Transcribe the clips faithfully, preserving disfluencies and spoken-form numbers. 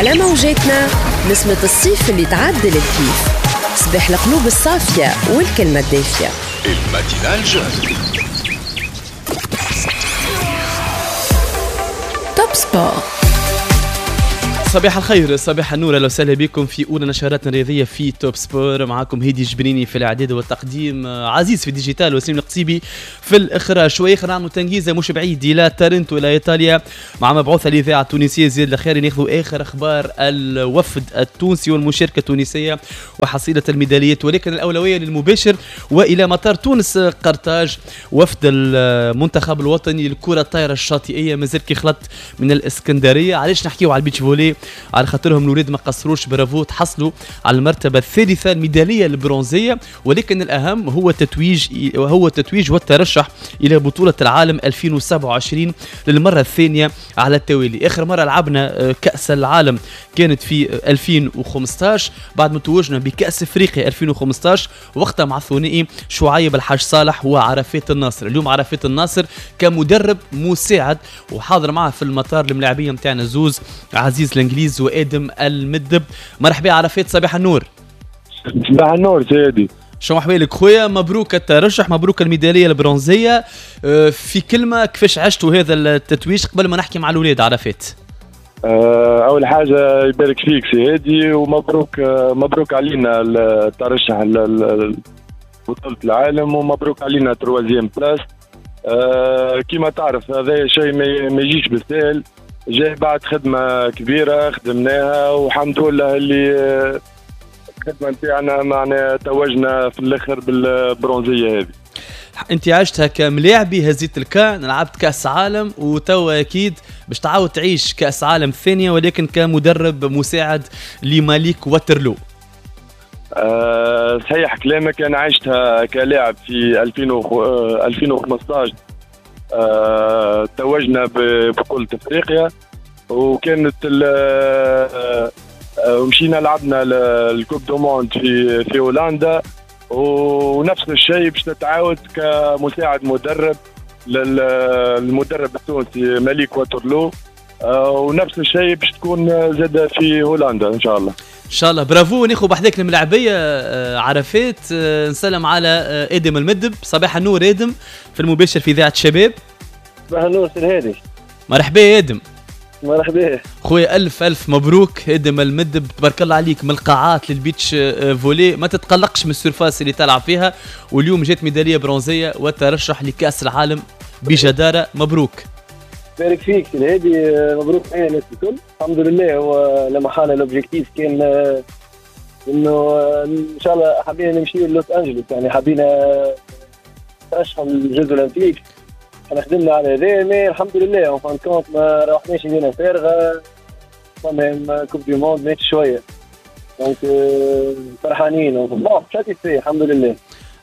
على موجاتنا نسمة الصيف اللي تعدل الكيف، صباح القلوب الصافية والكلمة الدافية. ال matinale jeune. Top Sport. صباح الخير، صباح النور، اهلا وسهلا بكم في اولى نشراتنا الرياضية في Top Sport. معاكم هيدي جبريني في الاعداد والتقديم، عزيز في ال digital، وسليم القصيبي في الاخراج. شوية نعملوا تنجيزه مش بعيد الى تارنتو الى ايطاليا مع مبعوث الاذاعة التونسية زياد الخيري، ناخذوا اخر اخبار الوفد التونسي والمشاركة التونسية وحصيله الميداليات، ولكن الاولوية للمباشر والى مطار تونس قرطاج. وفد المنتخب الوطني للكرة الطايره الشاطئيه مازال كي خلط من الاسكندرية. علاش نحكيو على ال beach volley؟ على خاطرهم الولاد ما قصروش، برافو، تحصلوا على المرتبة الثالثة الميداليه البرونزيه، ولكن الاهم هو التتويج، هو التتويج والترشح الى بطوله العالم ألفين وسبعة وعشرين للمرة الثانية على التوالي. اخر مرة لعبنا كاس العالم كانت في ألفين وخمسطاش بعد ما توجنا بكاس افريقيا ألفين وخمسطاش، وقتها مع الثنائي شعيب الحاج صالح وعرفات الناصر. اليوم عرفات الناصر كمدرب مساعد وحاضر معه في المطار الملاعبيه نتاعنا زوز عزيز الانجليز وادم المدب. مرحبا عرفات، صباح النور. صباح النور سيدي، شو احوالك خويا؟ مبروك الترشح، مبروك الميداليه البرونزيه. في كلمة كيفاش عشتوا هذا التتويج قبل ما نحكي مع الاولاد عرفات؟ اول حاجة يبارك فيك سيدي، ومبروك مبروك علينا الترشح لبطولة العالم، ومبروك علينا troisième place. كيما تعرف هذا شيء ما يجيش بالسهل، جاي بعد خدمة كبيرة خدمناها، والحمد لله اللي الخدمة نتاعنا معنا توجنا في الآخر بالبرونزية هذه. أنت عشتها كملاعبي، هزيت الكان، لعبت كأس عالم، وتوا أكيد باش تعاود تعيش كأس عالم ثانية ولكن كمدرب مساعد لماليك واترلو. أه صحيح كلامك، أنا عشتها كلاعب في ألفين وخمسطاش، أه توجنا ببطولة افريقيا، وكانت ومشينا لعبنا ال coupe du monde في في هولندا، ونفس الشيء باش نتعاود كمساعد مدرب للمدرب التونسي ماليك واترلو، ونفس الشيء باش تكون زاد في هولندا ان شاء الله. ان شاء الله، برافو. ناخذ بحذاك الملاعبيه عرفات، نسلم على ادم المدب. صباح النور ادم، في المباشر في اذاعة شباب. صباح النور سي الهادي. مرحبا يا ادم. مرحبا خويا، الف الف مبروك ادم المدب، تبارك الله عليك، من القاعات لل beach volley، ما تتقلقش من ال surface اللي تلعب فيها، واليوم جات ميدالية برونزيه والترشح لكاس العالم بجداره. مبروك. بارك فيك سي الهادي، مبروك علينا الناس الكل. الحمد لله، هو لما حال l'objectif كان انه ان شاء الله حبينا نمشيو لوس انجلوس، يعني حبينا نترشحوا لل Jeux Olympiques، احنا خدمنا على هذا، mais الحمد لله en fin de compte ما روحناش يدينا فارغة، فما coupe du monde مات شوية، donc فرحانين bon satisfaits الحمد لله.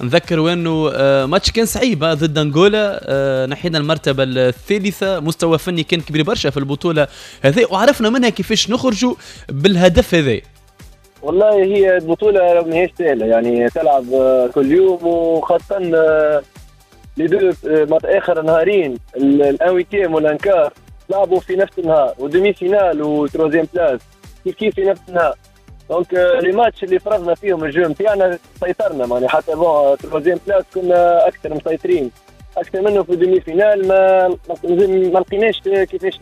نذكر انه ماتش كان صعيب ضد انغولا، نحينا المرتبة الثالثة، مستوى فني كان كبير برشا في البطولة هذه، وعرفنا منها كيفاش نخرجوا بالهدف هذا. والله هي البطولة ماهيش سهلة، يعني تلعب كل يوم، وخاصة les deux اخر نهارين ال un huitième وال un quart لعبوا في نفس النهار، و demi-finale و troisième place كيف كيف في نفس النهار، donc les matchs اللي فرضنا فيهم ال jeu نتاعنا سيطرنا، معني حتى bon troisième place كنا اكثر مسيطرين اكثر منه في demi-finale، ما ما لقيناش كيفاش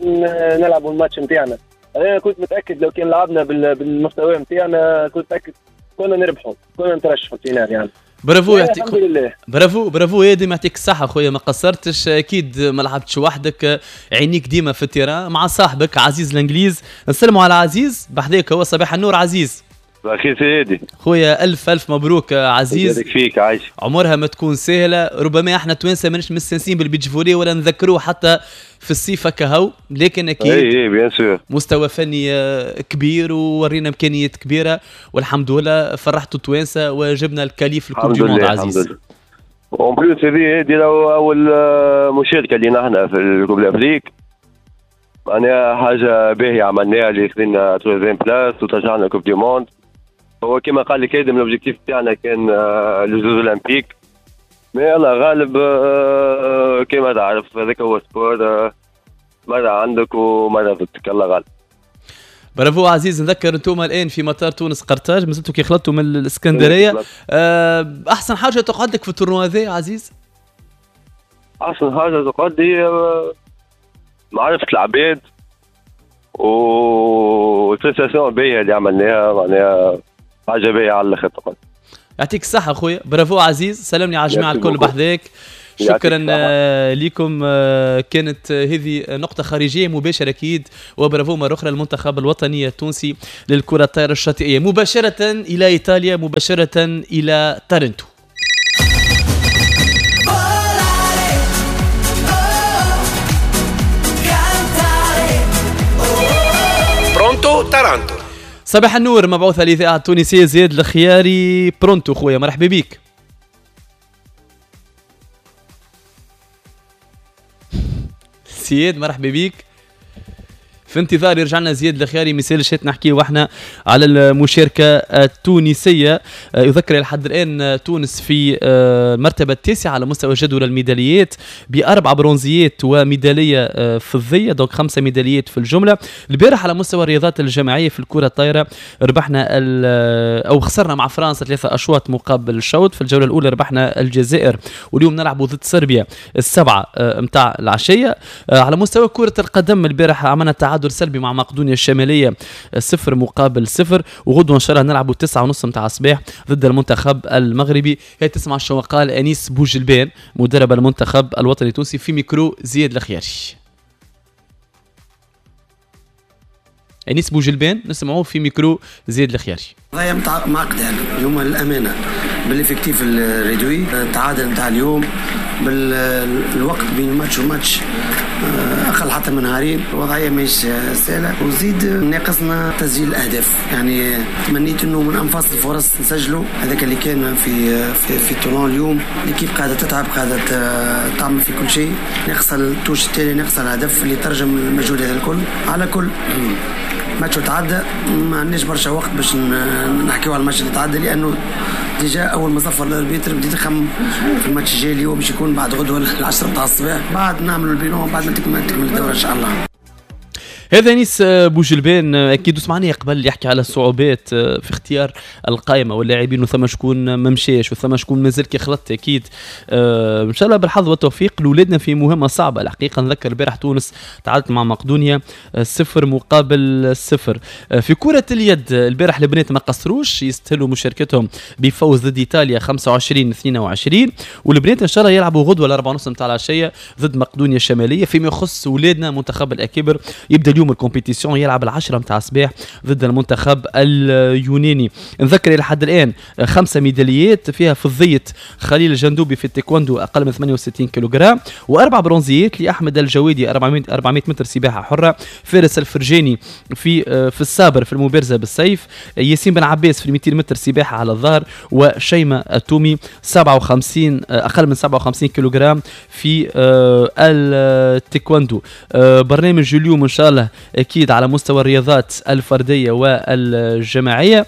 نلعبوا الماتش نتاعنا. انا كنت متاكد لو كان لعبنا بالمستوى نتاعنا كنت متاكد كنا نربحوا، كنا نترشحوا finale يعني. برافو، يعطيك الحمد لله. برافو برافو يا دي، يعطيك الصحة خويا، ما قصرتش، أكيد ما لعبتش وحدك، عينيك ديما في ال terrain مع صاحبك عزيز الإنجليز. نسلموا على عزيز بحذاك، هو صباح النور عزيز. أخي سيدي خويا، ألف ألف مبروك عزيز. يبارك فيك عايش. عمرها ما تكون سهلة، ربما احنا توانسة ماناش مستانسين بال beach volley ولا نذكروه حتى في الصيف كهو، لكن أكيد اي اي bien sûr مستوى فني كبير وورينا إمكانيات كبيرة، والحمد لله فرحتوا التوانسة وجبنا ال qualif ال coupe du monde عزيز. en plus هذه هذه أول مشاركة لنا احنا في ال coupe d'Afrique، معناها حاجة باهية عملناها اللي خذينا troisième place وترجعنا coupe du monde. هو كما قال لك ادم l'objectif تاعنا كان les Jeux Olympiques، mais الله غالب كما تعرف هذاك هو sport، مرة عندك ومرة ضدك، الله غالب. برافو عزيز. نذكر انتم الان في مطار تونس قرطاج، مازلتوا كي خلطتوا من الاسكندرية. أه احسن حاجة تقعد لك في ال tournoi هذا عزيز؟ احسن حاجة تقعد هي معرفة العباد وال prestation باهيه اللي عملناها، معناها حاجة باهيه على الاخر تقعد. يعطيك الصحة خويا، برافو عزيز، سلامني على الجماعة الكل بحذاك. شكرا لكم. كانت هذه نقطة خارجية مباشرة أكيد، وبرافو مرة أخرى للمنتخب الوطني التونسي للكرة الطائرة الشاطئية. مباشرة إلى إيطاليا، مباشرة إلى تارنتو. Pronto تارانتو. صباح النور، مبعوث الإذاعة التونسية زياد الخياري. Pronto خويا، مرحبا بك. زياد مرحبا بك. في انتظار يرجع لنا زياد الخياري. مثال شات نحكي واحنا على المشاركة التونسية. يذكر لحد الان تونس في المرتبة التاسعة على مستوى جدول الميداليات باربع برونزيات وميداليه فضية، donc خمسة ميداليات في الجملة. البارح على مستوى الرياضات الجماعية في الكره الطايره ربحنا او خسرنا مع فرنسا ثلاثة اشواط مقابل شوط. في الجولة الاولى ربحنا الجزائر، واليوم نلعب ضد صربيا السبعة نتاع العشية. على مستوى كره القدم البارح عملنا تعادل سلبي مع مقدونيا الشمالية صفر مقابل صفر، وغدوه ان شاء الله نلعبوا تسعة ونص نتاع الصباح ضد المنتخب المغربي. هي تسمع شو قال انيس بوجلبان مدرب المنتخب الوطني التونسي في ميكرو زياد الخياري. انيس بوجلبان نسمعوه في ميكرو زياد الخياري. قضايا معقدة يعني اليوم للامانة بال effectif ال réduit، التعادل نتاع اليوم بالوقت بين ماتش وماتش اقل حتى من نهارين، الوضعية ماهيش سهلة، وزيد ناقصنا تسجيل الاهداف. يعني تمنيت انه من انفاس الفرص نسجلوا، هذاك اللي كان في في, في tournoi اليوم. l'équipe قاعدة تتعب، قاعدة تعمل في كل شيء، ناقص ال touche التالي، ناقص الهدف اللي ترجم المجهود هذا الكل. على كل ماتش تعدى، ما عندناش برشا وقت باش نحكيو على الماتش اللي تعدى، لانه déjà اول ما صفر ال arbitre بديت نخمم في الماتش الجاي اللي هو باش يكون بعد غدوه العشرة تاع الصباح، بعد نعملوا ال bilan، بعد ما تكمل الدورة ان شاء الله. هذا انيس بوجلبان اكيد سمعني قبل يحكي على الصعوبات في اختيار القائمة واللاعبين، وثم شكون ما مشاش وثم شكون مازال كي خلط. اكيد ان شاء الله بالحظ والتوفيق لاولادنا في مهمة صعبة الحقيقة. نذكر البارح تونس تعادلت مع مقدونيا صفر مقابل صفر. في كره اليد البارح البنات ما قصروش، يستاهلوا مشاركتهم بفوز ضد ايطاليا خمسة وعشرين اثنين وعشرين، والبنات ان شاء الله يلعبوا غدوه الأربعة ونص نتاع العشية ضد مقدونيا الشمالية. فيما يخص اولادنا منتخب الاكابر يبدا اليوم ال compétition، يلعب العشرة متاع الصباح ضد المنتخب اليوناني. نذكر الى حد الان خمسة ميداليات فيها فضية خليل الجندوبي في التايكوندو اقل من ثمانية وستين كيلوغرام، واربع برونزيات لاحمد الجوادي أربعمائة متر سباحة حرة، فارس الفرجاني في في ال sabre في المبارزة بالسيف، ياسين بن عباس في مئتين متر سباحة على الظهر، وشيماء التومي سبعة وخمسين اقل من سبعة وخمسين كيلوغرام في التايكوندو. برنامج اليوم ان شاء الله اكيد على مستوى الرياضات الفردية والجماعيه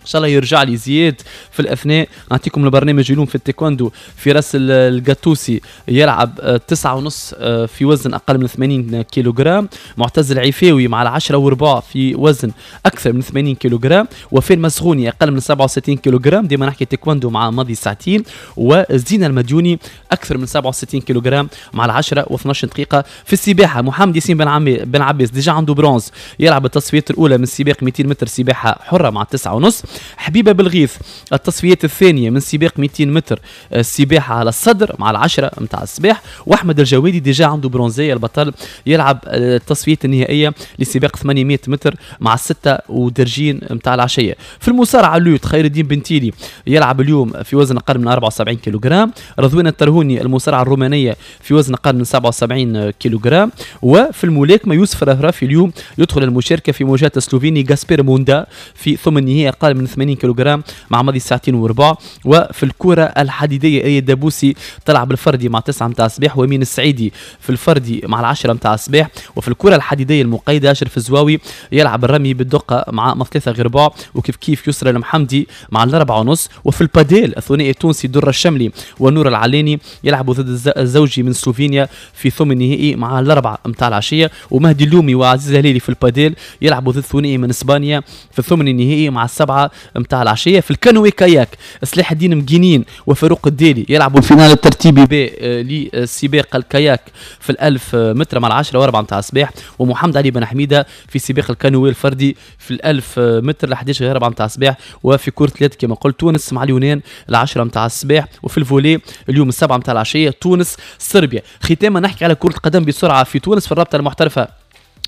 ان شاء الله يرجع لي زياد في الاثناء. نعطيكم البرنامج اليوم في التايكوندو. في راس القطوسي يلعب تسعة ونص في وزن اقل من ثمانين كيلوغرام، معتز العفاوي مع العشرة وربع في وزن اكثر من ثمانين كيلوغرام، وفين مسغوني اقل من سبعة وستين كيلوغرام، ديما نحكي تايكوندو مع ماضي ساعتين، وزينة المديوني اكثر من سبعة وستين كيلوغرام مع العشرة واثناش دقيقة. في السباحة محمد ياسين بن عمي بن عباس déjà عنده برونز، يلعب التصفيات الاولى من سباق مئتين متر سباحة حرة مع تسعة ونص. حبيبه بالغيث التصفيات الثانية من سباق مئتين متر السباحة على الصدر مع العشرة نتاع الصباح، واحمد الجوادي déjà عنده برونزيه البطل، يلعب التصفيات النهائية لسباق ثمانمائة متر مع الستة ودرجين نتاع العشية. في المصارعة lutte خير الدين بنتيلي يلعب اليوم في وزن اقل من أربعة وسبعين كيلوغرام، رضوان الترهوني المصارعة الرومانية في وزن اقل من سبعة وسبعين كيلوغرام، وفي الملاكمة يوسف رفرافي اليوم يدخل المشاركة في مواجهة السلوفيني غاسبير موندا في ثمن النهائي اقل من من ثمانين كيلوغرام مع ماضي ساعتين وربع. وفي الكره الحديدية اي دابوسي تلعب الفردي مع تسعة متاع الصباح، وامين السعيدي في الفردي مع العشرة متاع الصباح. وفي الكره الحديدية المقيدة اشرف الزواوي يلعب الرمي بالدقه مع ثلاثة غير ربع، وكيف كيف يسرى المحمدي مع الأربعة ونص. وفي الباديل الثنائي التونسي درة الشملي ونور العلاني يلعبوا ضد الزوجي من سلوفينيا في ثمن النهائي مع الأربعة متاع العشية. ومهدي اللومي وعزيز الهلالي في الباديل يلعبوا ضد ثنائي من اسبانيا في الثمن النهائي مع السبعة متاع العشية. في الكانوي كاياك سلاح الدين مجينين وفاروق الديلي يلعبوا ال finale الترتيبي ب لسباق الكاياك في الألف متر مع العشرة وأربعة متاع الصباح. ومحمد علي بن حميدة في سباق الكانوي الفردي في الألف متر ل أحد عشر أربعة متاع الصباح. وفي كرة اليد كما قلت تونس مع اليونان العشرة متاع الصباح. وفي ال volley اليوم السبعة متاع العشية تونس صربيا. ختاما نحكي على كرة القدم بسرعة في تونس في الرابطة المحترفة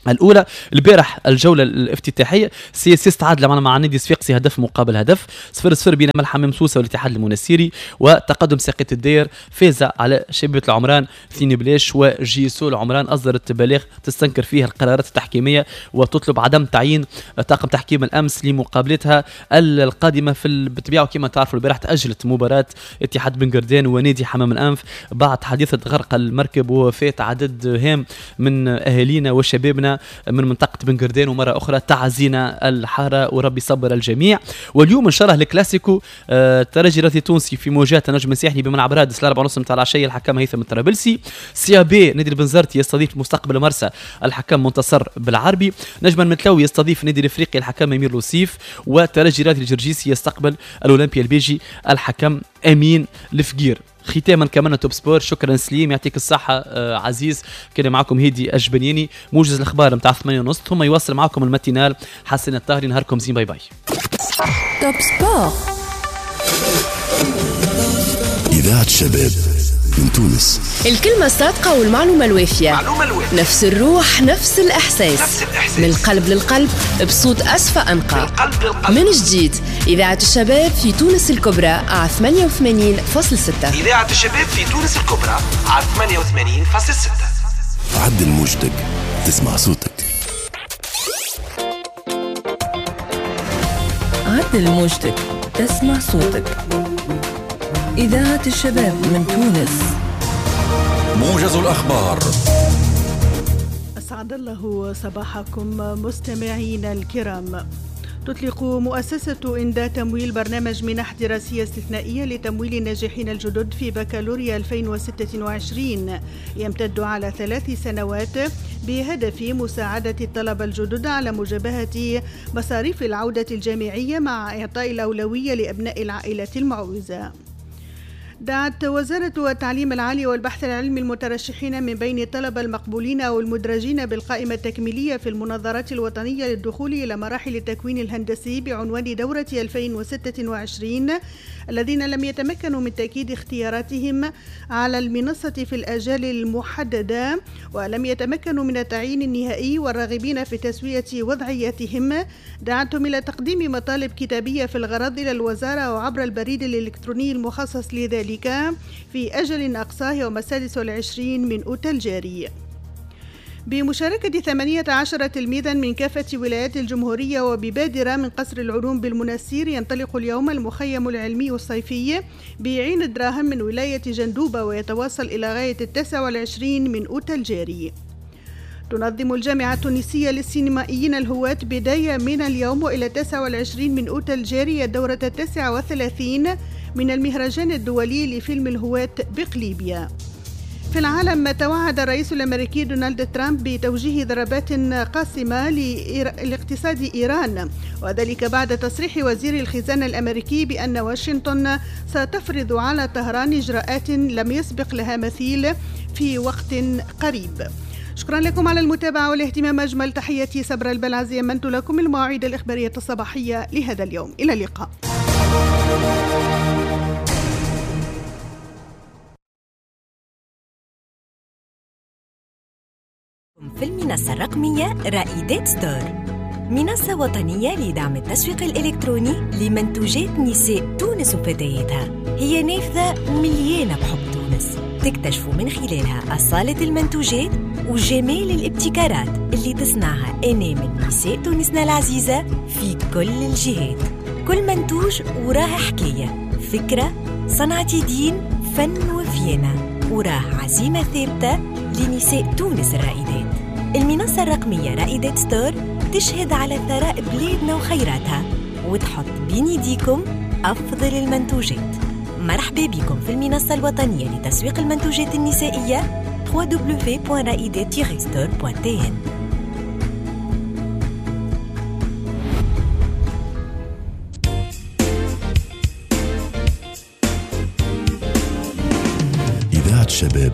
الاولى. البارح الجولة الافتتاحيه CSS تعادل معنا مع نادي صفاقسي هدف مقابل هدف، صفر صفر بين الحمام سوسة والاتحاد المنستيري. وتقدم ساقية الدير فاز على شبيبة العمران اثنين بلاش. و JSO العمران اصدرت بلاغ تستنكر فيه القرارات التحكيميه وتطلب عدم تعيين طاقم تحكيم الامس لمقابلتها القادمة في بالطبيعة. وكما تعرفوا البارح تاجلت مباراة اتحاد بن قردان ونادي حمام الانف بعد حادثه غرق المركب ووفاه عدد هام من اهالينا وشبابنا من منطقة بن قردان. ومرة أخرى تعزينا الحارة وربي صبر الجميع. واليوم إن شاء الله الكلاسيكو آه الترجي الرياضي التونسي في مواجهة النجم الساحلي بملعب رادس الأربعة ونص نتاع العشية، الحكم هيثم الطرابلسي. CAB نادي البنزرتي يستضيف مستقبل مرسى، الحكم منتصر بالعربي. نجم المتلوي يستضيف نادي الافريقي، الحكم أمير لوسيف. وترجي الرياضي الجرجيسي يستقبل الأولمبي البيجي، الحكم أمين الفقير. ختاما كمان Top Sport. شكرا سليم، يعطيك الصحة آه عزيز. كان معكم هيدي الجبنيني، موجز الأخبار نتاع ثمانية ونص، ثم يواصل معكم ال matinale حسن الطاهري. نهاركم زين، bye bye. Top Sport، إذاعة شباب من تونس. الكلمة الصادقة والمعلومة الوافية، معلومة الوافية. نفس الروح، نفس الإحساس، نفس الإحساس. من القلب للقلب، بصوت أسفى أنقى. من القلب للقلب. من جديد إذاعة الشباب في تونس الكبرى على ثمانية وثمانين فاصلة ستة. إذاعة الشباب في تونس الكبرى على ثمانية وثمانين فاصلة ستة. عدل موجتك تسمع صوتك. عدل موجتك تسمع صوتك. إذاعة الشباب من تونس. موجز الأخبار. أسعد الله صباحكم مستمعينا الكرام. تطلق مؤسسة إندا تمويل برنامج منح دراسية استثنائية لتمويل الناجحين الجدد في بكالوريا ألفين وستة وعشرين يمتد على ثلاث سنوات بهدف مساعدة الطلبة الجدد على مجابهة مصاريف العودة الجامعية مع إعطاء الأولوية لأبناء العائلات المعوزة. دعت وزارة التعليم العالي والبحث العلمي المترشحين من بين الطلبة المقبولين أو المدرجين بالقائمة التكميلية في المناظرات الوطنية للدخول إلى مراحل التكوين الهندسي بعنوان دورة ألفين وستة وعشرين الذين لم يتمكنوا من تأكيد اختياراتهم على المنصة في الآجال المحددة ولم يتمكنوا من التعيين النهائي والراغبين في تسوية وضعيتهم، دعتهم إلى تقديم مطالب كتابية في الغرض إلى الوزارة وعبر البريد الإلكتروني المخصص لذلك في أجل أقصاه يوم السادس والعشرين من أوت الجاري. بمشاركة ثمانية عشر تلميذا من كافة ولايات الجمهورية وببادرة من قصر العلوم بالمنستير ينطلق اليوم المخيم العلمي الصيفي بعين الدراهم من ولاية جندوبة ويتواصل إلى غاية التاسع والعشرين من أوت الجاري. تنظم الجامعة التونسية للسينمائيين الهواة بداية من اليوم وإلى التاسع والعشرين من أوت الجاري الدورة التاسعة والثلاثين من المهرجان الدولي لفيلم الهواة بقليبيا. في العالم، توعد الرئيس الأمريكي دونالد ترامب بتوجيه ضربات قاسمة لاقتصاد إيران، وذلك بعد تصريح وزير الخزانة الأمريكي بأن واشنطن ستفرض على طهران إجراءات لم يسبق لها مثيل في وقت قريب. شكرا لكم على المتابعة والاهتمام. أجمل تحياتي صبر البلعزي، أمنت لكم المواعيد الإخبارية الصباحية لهذا اليوم. إلى اللقاء. في المنصة الرقمية رائدات ستور، منصة وطنية لدعم التسويق الإلكتروني لمنتوجات نساء تونس وفتياتها. هي نافذة مليانة بحب تونس، تكتشفوا من خلالها أصالة المنتوجات وجمال الابتكارات اللي تصنعها أنامل نساء تونسنا العزيزة في كل الجهات. كل منتوج وراه حكاية، فكرة، صنعة يدين، فن وفيانة، وراه عزيمة ثابتة لنساء تونس الرائدات. المنصة الرقمية رائدات ستور تشهد على ثراء بلادنا وخيراتها وتحط بين يديكم أفضل المنتوجات. مرحبا بكم في المنصة الوطنية لتسويق المنتوجات النسائية دبليو دبليو دبليو دوت رائدات ستور دوت تي إن. إذاعة الشباب